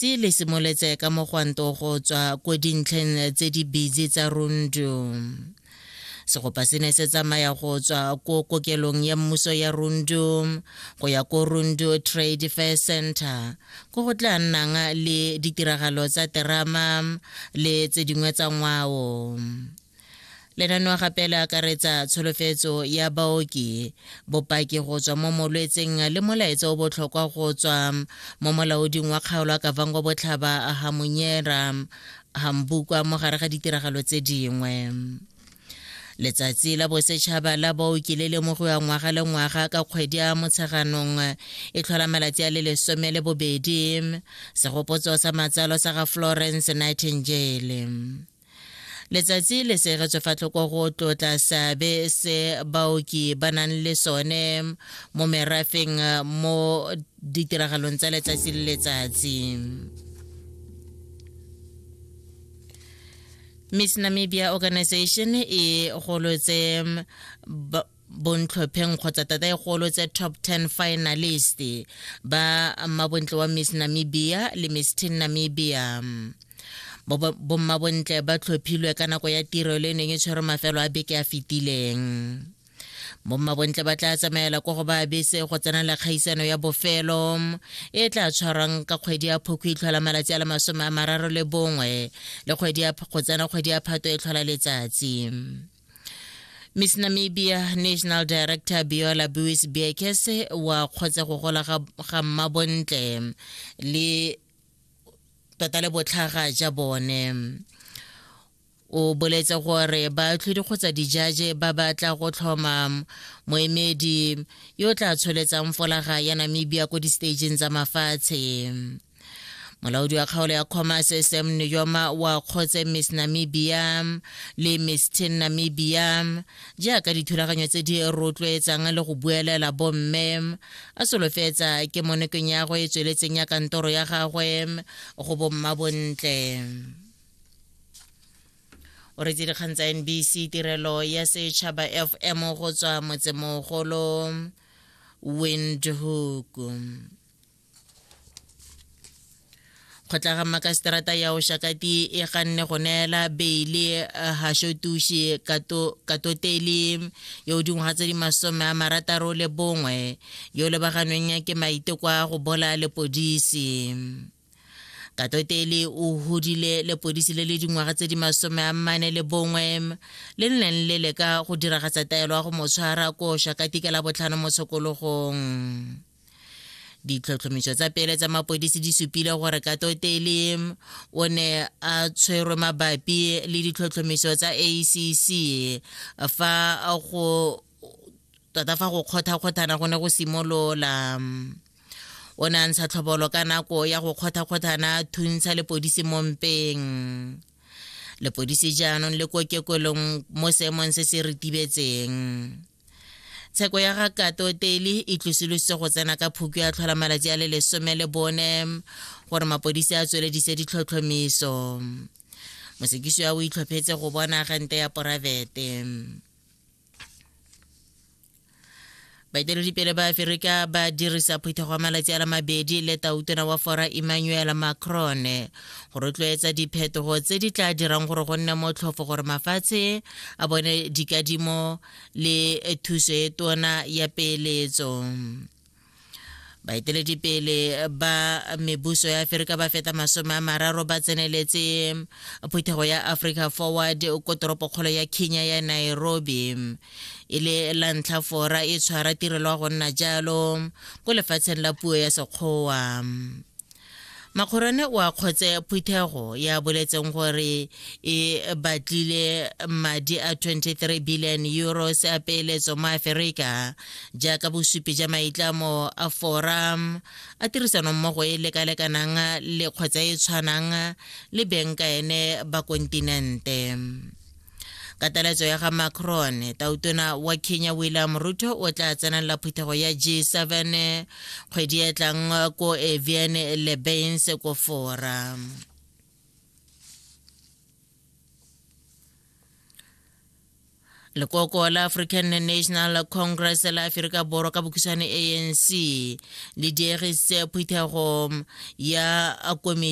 Letsatsi le simoletse ka mogwanto go tswa ko dintlheng tse di busy tsa Rundu. Segopa se ne se tsamaya go tswa ko kokelong ya mmuso ya Rundu go ya ko Rundu Trade Fair Center ko go tla nnang le ditiragalo tsa terama le tse dingwe tsa ngwao. Lenaneo gape le akaretsa tsholofetso ya baoki, bopaki go tswa mo molwetseng le molaetsa o botlhokwa go tswa mo molaoding wa kgaolo ya Kavango Botlhaba Hamunyera Hambukwa mo gare ga ditiragalo tse dingwe. Letsatsi la Bosetšhaba la Baoki le lemogiwa ngwaga le ngwaga ka kgwedi ya Motsheganong e tlhola malatsi a le 12, segopotso sa matsalo sa ga Florence Nightingale. Letsatsi le segetswe fa tlhoko go tlotla seabe se baoki ba nang le sone mo merafeng mo ditiragalong tsa letsatsi le letsatsi. Miss Namibia Organization e golotse bontlhopheng kgotsa tata e golotse top 10 finalist ba mmabontle wa Miss Namibia le Miss Teen Namibia. Bommabontle ba tlhophilwe ka nako ya tiro le neng e tshwere mafelo a beke a fetileng. Bommabontle ba tla tsamaela kwa go ba bese go tsenela kgaisano ya bofelo e tla tshwarwang ka kgwedi ya Phukwi e tlhola malatsi a le 31 le kgwedi ya go tsena kgwedi ya Phato e tlhola letsatsi. Miss Namibia National Director Biola Buis Beekes wa kgotsa go gola ga mmabontle le tota le botlhaga ja bone. O boletse gore baatlhodi kgotsa dijaje ba batla go tlhoma moemedi yo o tla tsholetsang folaga ya Namibia ko di-stageng tsa mafatshe. Molaodi wa kgaolo ya Commerce Sam Nujoma wa kgotse Miss Namibia le Miss Teen Namibia jaaka dithulaganyo tse di rotloetsang le go buelela bomme, a solofetsa ke monokeng ya go e tsweletseng ya kantoro ya gagwe go bomma bontle. O retse dikgang tsa NBC tirelo ya setšhaba FM go tswa motsemogolo Windhoek. Kgotla ga makaseterata ya Oshakati e ganne go neela beile Hashotushi Katoteli yo o dingwaga tse di 61 yo lebaganweng ke maiteko a go bolaya lepodisi. Katoteli o hudile lepodisi le le dingwaga tse di 41 le neng le leka go diragatsa taelo ya go mo tshwara ko Oshakati ka Labotlhano mo tshokologong. Ditlhotlhomiso tsa pele tsa mapodisi di supile gore Katoteli o ne a tshwerwe mabapi le ditlhotlhomiso tsa ACC fa go tota fa go kgothakgothana go ne go simolola. O ne a ntsha tlhobolo ka nako ya go kgothakgothana thuntsha lepodisi mo mpeng. Lepodisi jaanong le ko kekolong mo seemong se se ritibetseng. Tsheko ya ga Katoteli e tlosolositse go tsena ka Phukwi ya tlhola malatsi a le 14 gore mapodisi a tsweledise ditlhotlhomiso. Mosekisi o itlhophetse go bona agente ya poraefete. Baeteledipele ba Aforika ba dirisa phuthego ya malatsi a le mabedi le tautona wa Fora Emmanuel Macron go rotloetsa diphetogo tse di tla dirang gore go nne motlhofo gore mafatshe a bone dikadimo le thuso e tona ya peeletso. Baeteledipele ba mebuso ya Aforika ba feta 30 ba tseneletse phuthego ya Africa Forward ko toropokgolo ya Kenya ya Nairobi e le la ntlha Fora e tshwara tirelo ya go nna jalo ko lefatsheng la puo ya Sekgowa. Makgorane o akgotse phuthego ya boletseng gore e batlile madi a 23 billion euros a peeletso mo Aforika jaaka bosupi ja maitlamo a Fora a tirisanommogo e lekalekanang le kgotsa e tshwanang le beng ka ene ba kontinente. Ka taletso ya ga Macron, tautona wa Kenya William Ruto o tla tsenela phuthego ya G7 kgwedi e tlang ko Evian-le-Bains ko Fora. Lekoko la African National Congress la Aforika Borwa ka bokhutshwane ANC le diegisitse phuthego ya komiti